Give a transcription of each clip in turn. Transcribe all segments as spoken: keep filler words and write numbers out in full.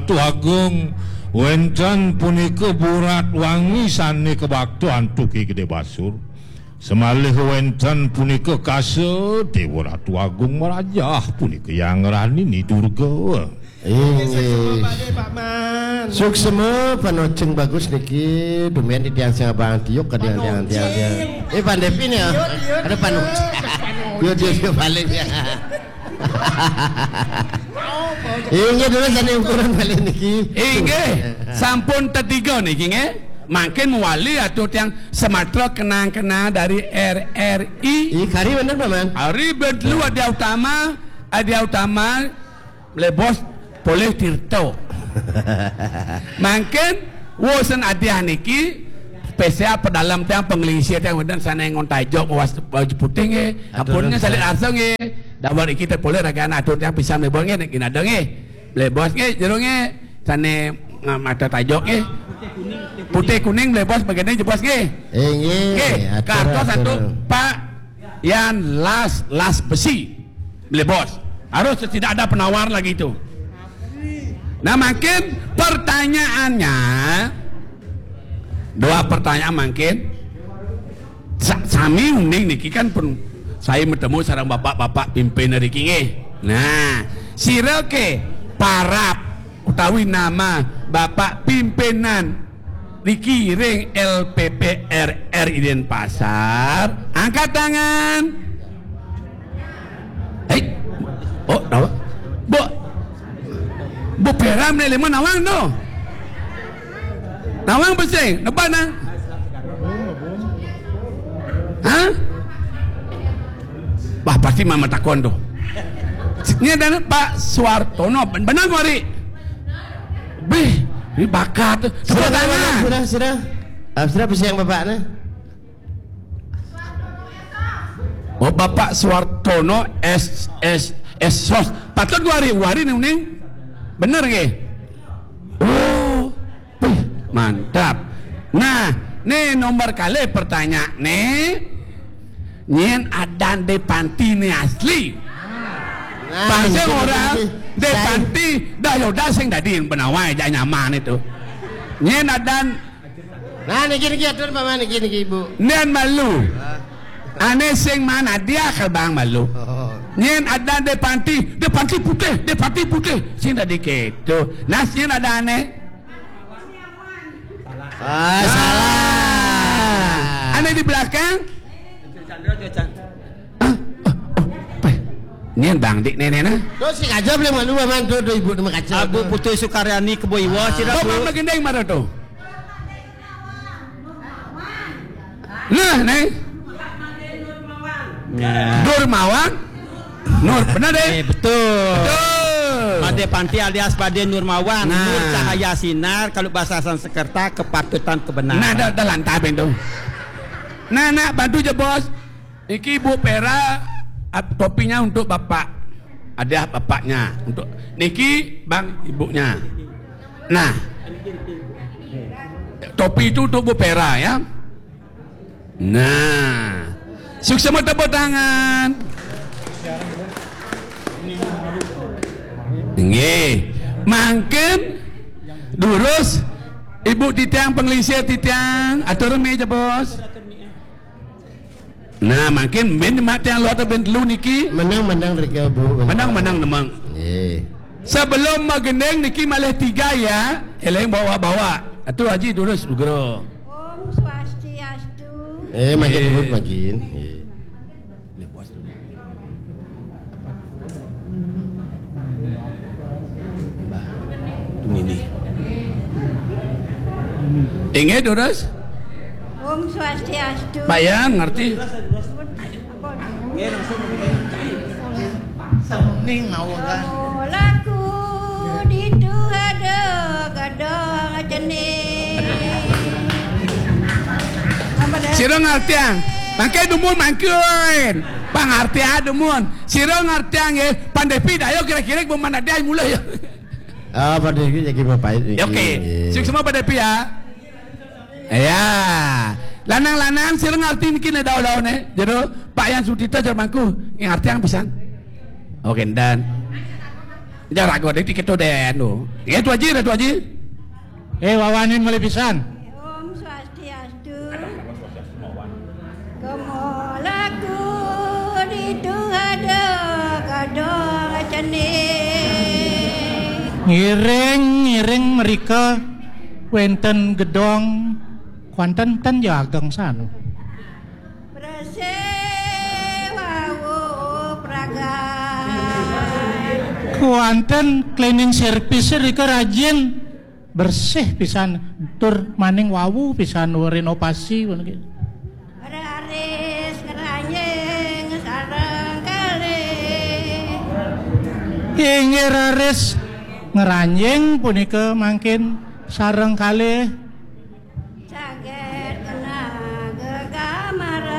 Ratu Agung, wénten punika Burat Wangi sané kabakta antuk Ki Gedé Basur. Samalih wénten punika kasa Déwa Ratu Agung marajah punika Hyang Rani Ni Durga. Inggih. Suksma, Pak Man. Suksma, panoceng bagus niki, dumian titiang sing abang tiup ka tiang, tiang, tiang, tiang. Panoceng. Eh, Pak Devi nih, ya. Tiup, tiup. Ada panoceng. Tiup, tiup, tiup, balik ya. Inggih, durus sané ukuran malih niki. Inggih, sampun tetiga niki nggih. Mangkin mawali atur tiang samatra kenang-kenang dari R R I. Ih, kari bener, Pak Man. Ari ben telu Adia Utama, Adia Utama, Mlebos, Polih Tirta. Mangkin wusan Adia niki spesial pedalem tiang, panglingsir tiang wénten sané ngon tajok mawas baju putih nggih. Atur. Ampunnya nuhun, salit arsa nggih. Damel iki tepulih ragané atur tiang pisan mlebos nggih, niki nada nggih. Mlebos nggih, jero nggih. Sané, ah, mata tajok nggih. Putih kuning mlebos, bagiannya jebos nggih. Inggih, nggih, atur, kartos atur. Satu, Pak Yan Las, Las Besi. Mlebos. Harus tidak ada penawar lagi itu. Nah, mangkin pertanyaannya, dua pertanyaan mangkin. Sa-, sami uning niki kan pun saya bertemu sareng bapak-bapak pimpinan niki nggih. Nah, sira ké parab utawi nama bapak pimpinan niki ring L P P R R I Denpasar, angkat tangan. Hei. Oh, nawang. Bu. Bu Peram nih, lima nawang tuh. Nawang besing, depan nah. Hah? Wah, pasti mama takon tuh. Ini ada Pak Suartono, ben-, benar kok, Ri? Bih, ini bakat tuh. Tepuk tangan. Sudah, sudah. Ah, sudah, bisa yang bapak nih. Oh, Bapak Suartono S, S, S sos. Patut gua hari, gua hari nih, Uning. Bener nggih? Oh, wih, mantap. Nah, nih nomor kalih pertanyaan nih. Nyén adan Dé Panti nih asli? Nah, pang sing ora, Dé Panti, dah ya udah sing dadi yang benawai, jangan nyaman itu. Nyén adan Nah, niki, niki, atur, Pak Man, niki, niki, Ibu. Nian malu. Hah? Ané sing man hadiah ka bang malu. Oh. Nyén adan Dé Panti, Dé Panti putih, Dé Panti putih. Sing dadi kéto. Nah, nyén adané? Ah, salah. Ané di belakang? Ah, oh, oh, apa? Nyén bang dik nénéna? Tuh, sing aja boleh malu, Pak Man, tuh, tuh, Ibu, nama kaca. Abu tuh. Putih Sukaryani Kebo Iwa, sira, Bu. Bang Magendeng mara tuh. Nah, nih. Ya. Durmawan. Nur, benar deh. Eh, betul. Betul. Badé Panti alias Badé Nurmawan. Nah. Nur cahaya sinar, kalau bahasa Sanskerta kepatutan kebenaran. Nah, dah, dah lantap itu. Nah, nak bantu je, Bos. Niki Ibu Pera, ap-, topinya untuk Bapak. Ada bapaknya. Untuk niki Bang ibunya. Nah. Topi itu untuk Bu Pera ya. Nah. Suksma tepuk tangan. Nggih. Mangkin durus Ibu titiang, panglingsir titiang, atur meja, Bos. Nah, mangkin min mak tiang luar bin telu niki. Menang, menang rika, Bu. Menang, menang, nemang. Nggih. Sebelum magending niki malih tiga ya, eling bawa-bawa. Atu Haji durus, Nugro. Om Swastiastu. Eh, makin, eh, Ibu, makin. Nggih. Ini. Inggih, durus? Om Swastiastu. Pak Yan, ngerti? Apa? Ning mawon lah. Laku ditu ada gadang cening. Sira ngartiang. Mangke dumun mangkin. Pangartian dumun. Sira ngartiang nggih. Pandepi dayo kira-kira bu mana dia mulai ya. Ah, Pak Devi jadi bapak ini. Ya, oke. Nggih. Suksma Pak Devi ya. Ya. Lanang-lanang sira ngarti niki ne daun-daune. Jero Pak Yan Sutita jero mangku. Ngartiang pisan. Oke, dan Jarak gua dadi kéto dén to. Ya, Tu Aji, Tu Aji. Eh, wawanin malih pisan. Om Swastiastu. Kemolaku ditu ada gedong cening. Ngiring, ngiring mrika wénten gedong, kuanten ten ya ageng sanu. Bersih wau pragat. Kuanten cleaning service rika rajin, bersih pisan, tur maning wau pisan, renovasi, ngono ki. Raris ngeranjing sareng kalih. Inggih, raris ngeranjing punika mangkin sareng kalih. Saged kena gegamaran.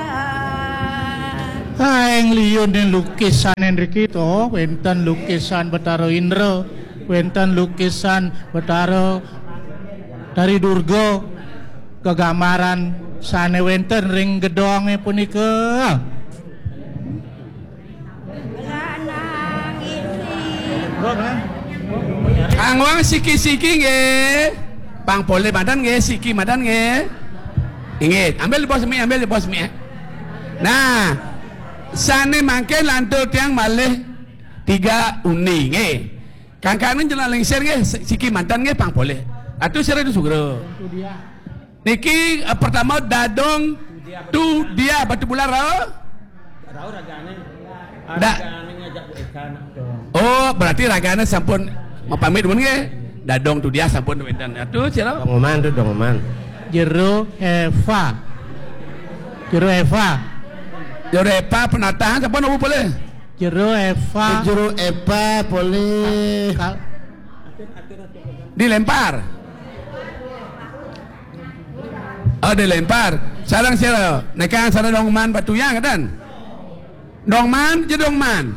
Kaing liyune lukisan nriki to, wénten lukisan Betara Indra, wénten lukisan Betara Tari Durga, gegamaran sane wénten ring gedonge punika. Kang Wang, siki-siki nggih. Pang polih madan nggih, siki madan nggih. Inggih, ambil di bawah semik, ambil di bawah semik. Nah, sane mangke lantur tiang malih tiga undi nggih. Kangkane jenengan lingsir nggih, si-, siki madan nggih pang polih. Atu sira sugra. Niki, eh, pertama Dadong Tudia Batu Bular, oh? Rauh ragane. Da- Ragane ngajak Bu Eka nak dong. Oh, berarti ragane sampun mapamit dumun nggih. Dadong Tudia sampun wénten. Atuh, sira. Dong Oman tuh, Dong Oman. Jero Eva. Jero Eva. Jero Eva penatahan sampun, oh, boleh. Jero Eva. Jero Eva boleh. Kal- Dilempar. Oh, dilempar. Sareng sira. Nekang sareng Dong Man Batuyang, kan? Dong Man, je Dong Man.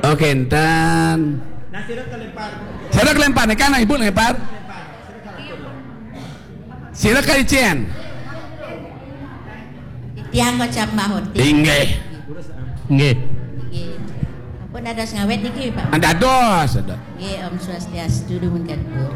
Oke, enten. Sira kelempar, nekang, Ibu lempar. Sira kaicén. Tiang kocap mahut. Inggih. Nggih. Nggih. Ampun dados ngawit niki, Pak. Dados, dados. Nggih, Om Swastiastu, dumun katur.